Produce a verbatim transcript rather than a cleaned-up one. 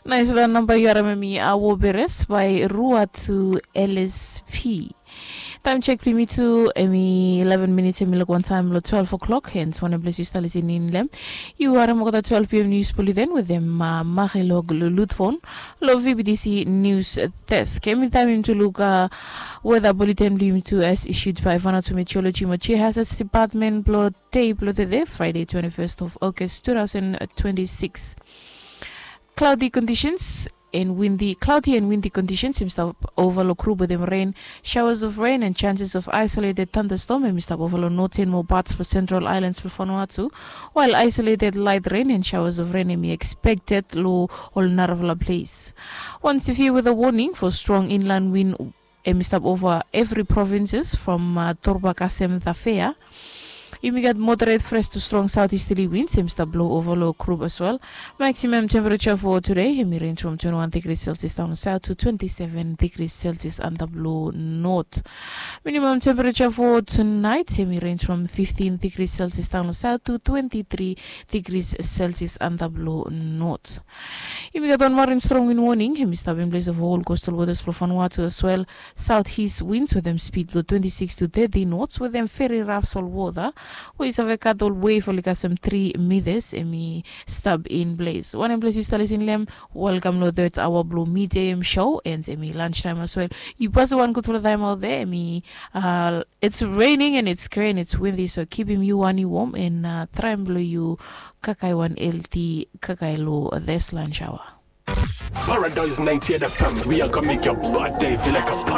Nais long namba yu harim em i Awo Beres by Rua to L S P. Taem jek blong yumi tu em i eleven minits, em i luk wantaem long twelve o'clock, hens wanem ples yu stap lisin in long hem. Yu harim olgeta twelve p.m. nius blong yu then wetem Marilog Lulutfon long V B T C News Desk. Em i taem yumi tu luk weather bulletin blong yumi tu as issued by Vanuatu Meteorology mo Geohazards Department blong dei blong tede, Friday, twenty-first of August, two thousand twenty-six. Cloudy conditions and windy, cloudy and windy conditions em i stap ova long grup wetem rain, showers of rain and chances of isolated thunderstorm em i stap ova long northern mo parts blong central islands blong Vanuatu, while isolated light rain and showers of rain em i expected long ol narafala ples. Wan severe weather warning for strong inland wind em i stap ova evri provinces from Torba kasem Thafea. Yumi gat moderate fresh to strong southeasterly winds em i stap blo ova long grup as well. Maximum temperature for today em i range from twenty-one degrees Celsius down south to twenty-seven degrees Celsius antap long north. Minimum temperature for tonight em i range from fifteen degrees Celsius down south to twenty-three degrees Celsius antap long north. Yumi gat wan marin strong wind warning em i stap in place of all coastal waters blong Vanuatu as well. Southeast winds wetem speed blong twenty-six to thirty knots wetem very rough salt water we i save gat ol wave oli kasem three meters em i stap in place. Wanem ples yu stap lisin long hem, welkam long third hour blong midday em show and em i lunch time as well. Yu pasem wan gudfala taem out there, em i uh, it's raining and it's gray and it's windy, so kipim yu wan yu warm and uh, traem blong yu kakae wan healthy kakae long this lunch hour. Paradise ninety-eight F M, we are gonna make your bad day feel like a party.